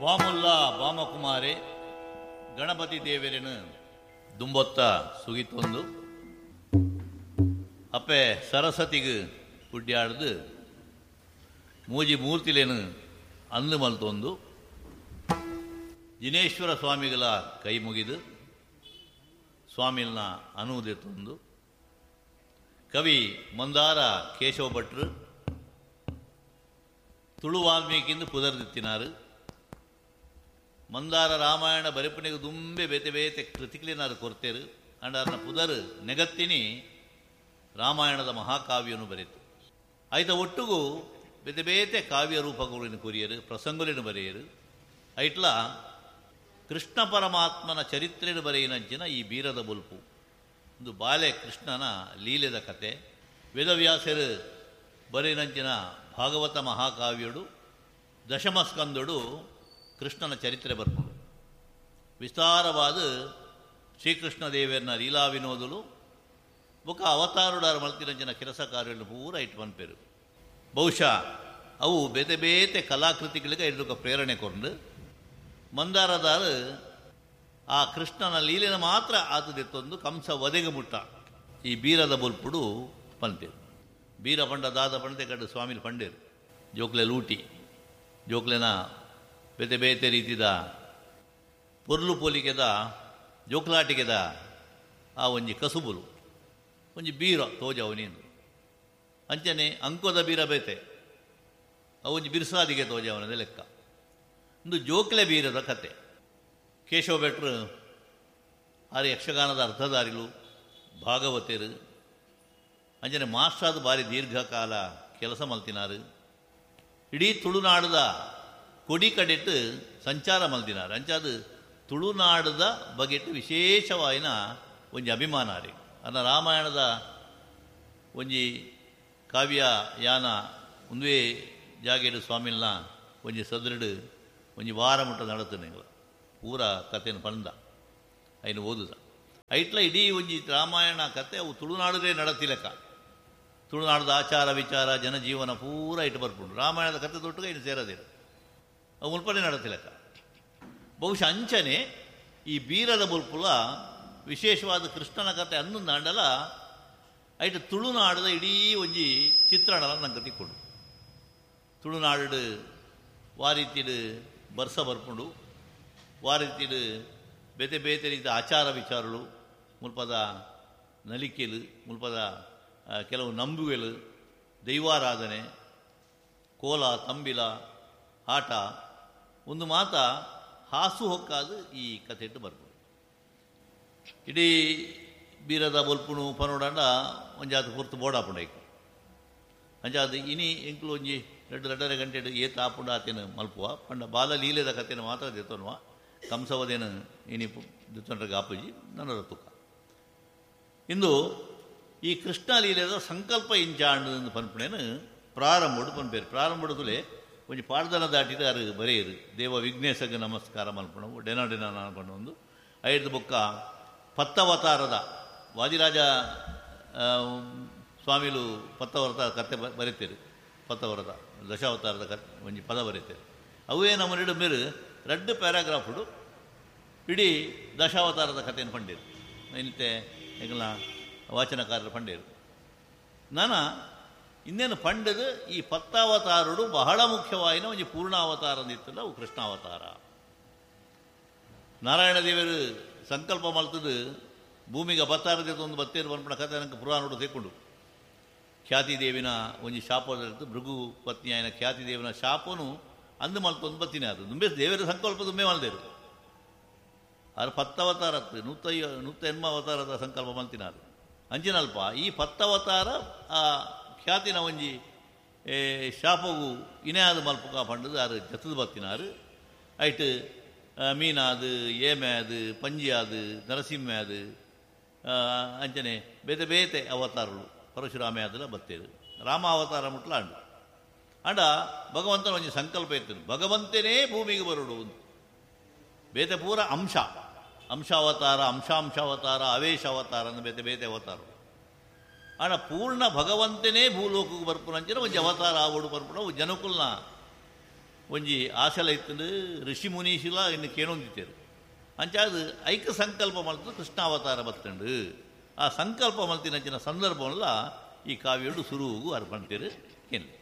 ಬಾಮುಲ್ಲ ಬಾಮಕುಮಾರೆ ಗಣಪತಿ ದೇವರನ್ನು ದುಂಬೊತ್ತ ಸುಗಿತೊಂದು ಅಪ್ಪೆ ಸರಸ್ವತಿಗೆ ಗುಡ್ಡಾಡ್ದು ಮೂಜಿ ಮೂರ್ತಿಲೇನು ಅಂದು ಮಲ್ತೊಂದು ಜಿನೇಶ್ವರ ಸ್ವಾಮಿಗಳ ಕೈ ಮುಗಿದು ಸ್ವಾಮಿಲ್ನ ಅನುವುದೆತ್ತೊಂದು ಕವಿ ಮಂದಾರ ಕೇಶವ ಭಟ್ರು ತುಳು ವಾಲ್ಮೀಕಿಂದು ಪುದರ್ದಿತ್ತಿನಾರು. ಮಂದಾರ ರಾಮಾಯಣ ಬರೆಪನಿಗೆ ದುಂಬೆ ಬೇತೆ ಬೇತೆ ಕೃತಿಕ್ಲೇನಾರು ಕೊರ್ತೇರು. ಅಂಡಾರನ ಪುದರ್ ನೆಗತ್ತಿನಿ ರಾಮಾಯಣದ ಮಹಾಕಾವ್ಯನು ಬರೆತು. ಆಯ್ತ ಒಟ್ಟುಗೂ ಬೇತೆ ಬೇತೆ ಕಾವ್ಯ ರೂಪಗಳಿನ ಕೊರಿಯರು, ಪ್ರಸಂಗುಲಿನ ಬರೆಯರು. ಐಟ್ಲ ಕೃಷ್ಣ ಪರಮಾತ್ಮನ ಚರಿತ್ರೆಯನ್ನು ಬರೆಯಿನಂಚಿನ ಈ ಬೀರದ ಬೊಲ್ಪು ಒಂದು ಬಾಲೆ ಕೃಷ್ಣನ ಲೀಲೆದ ಕತೆ. ವೇದವ್ಯಾಸರು ಬರೆಯಿನಂಚಿನ ಭಾಗವತ ಮಹಾಕಾವ್ಯಡು ದಶಮಸ್ಕಂದಡು ಕೃಷ್ಣನ ಚರಿತ್ರೆ ಬರ್ಪುಂಡು. ವಿಸ್ತಾರವಾದ ಶ್ರೀಕೃಷ್ಣ ದೇವರನ್ನ ಲೀಲಾ ವಿನೋದಲು ಬೊಕ ಅವತಾರುಡಾರ ಮಲ್ತಿನಂಚಿನ ಕೆಲಸ ಕಾರ್ಯಗಳನ್ನು ಪೂರ ಇಟ್ಟು ಪನ್ಪೇರು. ಬಹುಶಃ ಅವು ಬೇತೆ ಬೇತೆ ಕಲಾಕೃತಿಗಳಿಗೆ ಇದಕ್ಕೆ ಪ್ರೇರಣೆ ಕೊಂಡು ಮಂದಾರದಾರು ಆ ಕೃಷ್ಣನ ಲೀಲೆನ ಮಾತ್ರ ಆತದೆತ್ತೊಂದು ಕಂಸ ವಧೆಗೆ ಮುಟ್ಟ ಈ ಬೀರದ ಬೊಲ್ಪುಡು ಪನ್ಪೇರು. ಬೀರ ಪಂಡ ದಾದ ಪಂಡತೆ ಕಟ್ಟು ಸ್ವಾಮಿಲಿ ಪಂಡೇರು. ಜೋಕ್ಲೆ ಲೂಟಿ ಜೋಕ್ಲೆನ ಬೇತೆ ಬೇತೆ ರೀತಿದ ಪೊರ್ಲು ಪೋಲಿಕೆದ ಜೋಕ್ಲಾಟಿಕೆದ ಆ ಒಂಜಿ ಕಸುಬುಲು ಒಂಜಿ ಬೀರ ತೋಜವನೇನು ಅಂಚನೆ ಅಂಕೋದ ಬೀರ ಬೇತೆ ಅವು ಒಂಜಿ ಬಿರ್ಸಾದಿಗೆ ತೋಜವನದೇ ಲೆಕ್ಕ. ಒಂದು ಜೋಕ್ಲೆ ಬೀರದ ಕತೆ. ಕೇಶವ ಭಟ್ರು ಆರು ಯಕ್ಷಗಾನದ ಅರ್ಥಧಾರಿಲು ಭಾಗವತರು ಅಂಚನೆ ಮಾಸ್ಟ್ರಾದ ಬಾರಿ ದೀರ್ಘಕಾಲ ಕೆಲಸ ಮಲ್ತಿನಾರು. ಇಡೀ ತುಳುನಾಡದ ಕೊಡಿ ಕಡೆಟ್ಟು ಸಂಚಾರ ಮಲ್ತಿನಾರು. ಅಂಚಾದ ತುಳುನಾಡದ ಬಗೆಟ್ಟು ವಿಶೇಷವಾಯಿನ ಒಂಜಿ ಅಭಿಮಾನ ರೀ. ಅನ್ನ ರಾಮಾಯಣದ ಒಂಜಿ ಕಾವ್ಯ ಯಾನ ಒಂದುವೇ ಜಾಗೆಡು ಸ್ವಾಮಿಲ್ನ ಒಂಜಿ ಸದೃಡು ಒಂಜಿ ವಾರ ಮುಟ್ಟ ನಡತನೆ ಪೂರ ಕಥೆಯನ್ನು ಪಂದ ಐನು ಓದುದ ಐಟ್ಲ ಇಡೀ ಒಂಜಿ ರಾಮಾಯಣ ಕತೆ ಅವು ತುಳುನಾಡದೇ ನಡತಿಲಕ. ತುಳುನಾಡದ ಆಚಾರ ವಿಚಾರ ಜನಜೀವನ ಪೂರ ಇಟ್ಟು ಬರ್ಪುಂಡು. ರಾಮಾಯಣದ ಕತೆ ತೊಟ್ಟುಗ ಇನ್ನು ಸೇರದಿರು ಅವು ಮುಲ್ಪನೆ ನಡತಿಲಕ. ಬಹುಶಃ ಅಂಚನೆ ಈ ಬೀರದ ಬೊಲ್ಪುಲ ವಿಶೇಷವಾದ ಕೃಷ್ಣನ ಕತೆ ಅನ್ನೊಂದು ಐಟ್ ತುಳುನಾಡದ ಇಡೀ ಒಂಜಿ ಚಿತ್ರಣಲ ನಂಗೆ ತಿಕ್ಕೊಂಡು. ತುಳುನಾಡು ವಾರೀತಿಡು ಬರ್ಸ ಬರ್ಪುಂಡು, ವಾರೀತಿಡು ಬೇತೆ ಬೇತೆ ರೀತಿಯ ಆಚಾರ ವಿಚಾರಗಳು, ಮುಲ್ಪದ ನಲಿಕೆಲು, ಮುಲ್ಪದ ಕೆಲವು ನಂಬುಗೆಲು, ದೈವಾರಾಧನೆ, ಕೋಲ ತಂಬಿಲ ಆಟ ಒಂದು ಮಾತ ಹಾಸು ಹೊಕ್ಕಾದು ಈ ಕಥೆ ಇಟ್ಟು ಬರ್ಬೋದು. ಇಡೀ ಬೀರದ ಬೊಲ್ಪುಣು ಪನೋಡಂಡ ಒಂಜಾತ ಪೊರ್ತು ಬೋಡಾಪುಂಡು ಅಂಚಾದ ಇನಿ ಎಂಕ್ಲು ಒಂಜಿ ರಡ್ಡು ರಡ್ಡರೆ ಗಂಟೆ ಏತ ಆಪುಂಡ ಆತೇನು ಮಲ್ಪುವ ಪಂಡ ಬಾಲ ಲೀಲೆದ ಕಥೆನ ಮಾತ್ರ ದೆತ್ತೊನುವ ಕಂಸವದೇನು ಇನಿ ದೆತ್ತೊಂಡ್ರೆ ಗಾಪುಜಿ ನನ್ನ ತುಕ್ಕ. ಇಂದು ಈ ಕೃಷ್ಣ ಲೀಲೆದ ಸಂಕಲ್ಪ ಇಂಚಾಂಡು ಪನ್ಪುಣೇನು ಪ್ರಾರಂಭಡು ಪನ್ಪೇರು. ಪ್ರಾರಂಭಡುತ್ತಲೇ ಒಂಜಿ ಪಾಡ್ದನ ದಾಟಿದ ಅರು ಬರೆಯರು. ದೇವ ವಿಘ್ನೇಶಗೆ ನಮಸ್ಕಾರ ಮಲ್ಪಣವು ಡೆನ ಡೆನ ಒಂದು ಐದು ಬೊಕ್ಕ ಪತ್ತವತಾರದ ವಾದಿರಾಜ ಸ್ವಾಮಿಲು ಪತ್ತವರತ ಕತೆ ಬರೀತೀರು. ಪತ್ತವರದ ದಶಾವತಾರದ ಕತೆ ಒಂಜಿ ಪದ ಬರೀತೀರು. ಅವೇ ನಮ್ಮ ನಡು ಮೇರು ರಡ್ಡು ಪ್ಯಾರಾಗ್ರಾಫುಡು ಇಡೀ ದಶಾವತಾರದ ಕಥೆಯನ್ನು ಪಂಡೇರು. ಇಂತೆ ಎಂಗಲ ವಾಚನಕಾರರು ಪಂಡೇರು. ನಾನ ಇನ್ನೇನು ಪಂಡದು ಈ ಪತ್ತಾವತಾರುಡು ಬಹಳ ಮುಖ್ಯವಾಯಿನ ಒಂಜಿ ಪೂರ್ಣಾವತಾರ ಅಂದಿತ್ತಲ್ಲ ಅವು ಕೃಷ್ಣಾವತಾರ. ನಾರಾಯಣ ದೇವರು ಸಂಕಲ್ಪ ಮಲ್ತದು ಭೂಮಿಗೆ ಅವತಾರದ ಒಂದು ಬತ್ತೇರು ಪನ್ಪುನ ಕಥೆ ನನಗೆ ಪುರಾಣೋಡು ತೆಕ್ಕೊಂಡು. ಖ್ಯಾತಿದೇವಿನ ಒಂಜಿ ಶಾಪದ ಭೃಗು ಪತ್ನಿಯಾಯನ ಖ್ಯಾತಿದೇವಿನ ಶಾಪನು ಅಂದು ಮಲ್ತೊಂದು ಬತ್ತಿನ ಅದು ದುಂಬೆ ದೇವರ ಸಂಕಲ್ಪ ದುಂಬೆ ಮಲ್ದೇರು. ಆದ್ರೆ ಪತ್ತವತಾರ 180 ಅವತಾರದ ಸಂಕಲ್ಪ ಮಲ್ತಿನಾರು. ಅಂಚಿನಲ್ಪ ಈ ಪತ್ತವತಾರ ಆ ಖ್ಯಾತಿನ ಒಂಜಿ ಶಾಪವು ಇನೇ ಆದ ಮಲ್ಪುಕ ಪಂಡದು ಆರು ಜತದ ಬತ್ತಿನಾರು. ಐಟ್ ಮೀನಾದು, ಏಮೆ ಅದು, ಪಂಜಿ ಅದು, ನರಸಿಂಹ ಅದು, ಅಂಚನೆ ಬೇತೆ ಬೇತೆ ಅವತಾರಗಳು ಪರಶುರಾಮೆ ಅದೆಲ್ಲ ಬತ್ತೇರು. ರಾಮ ಅವತಾರ ಮುಟ್ಲ ಅಂಡು ಅಂಡ ಭಗವಂತನ ಒಂಜಿ ಸಂಕಲ್ಪ ಇತ್ತು, ಭಗವಂತನೇ ಭೂಮಿಗೆ ಬರುಡು. ಬೇತೆ ಪೂರ ಅಂಶ ಅಂಶಾವತಾರ, ಅಂಶಾಂಶಾವತಾರ, ಅವೇಶ ಅವತಾರ ಅಂದು ಬೇತೆ ಬೇತೆ ಅವತಾರಗಳು. ಆಡ ಪೂರ್ಣ ಭಗವಂತನೇ ಭೂಲೋಕಕ್ಕೆ ಬರ್ಪುನಂಚಿನ ಒಂಜಿ ಅವತಾರ ಆವಡು ಬರ್ಪುನ ಜನಕುಲ್ನ ಒಂಜಿ ಆಸೆಲ ಇತ್ತಂಡು, ಋಷಿ ಮುನೀಶಿಲ ಇನ್ನು ಕೇಣೊಂದಿತ್ತೇರು. ಅಂಚಾದ್ ಐಕ ಸಂಕಲ್ಪ ಮಲ್ತು ಕೃಷ್ಣಾವತಾರ ಬತ್ತಂಡು. ಆ ಸಂಕಲ್ಪ ಮಲ್ತಿನಂಚಿನ ಸಂದರ್ಭವಲ್ಲ ಈ ಕಾವ್ಯಡು ಸುರುವುಗು ಅರ್ಪಣ್ತೇರು ಕೇಳಿ.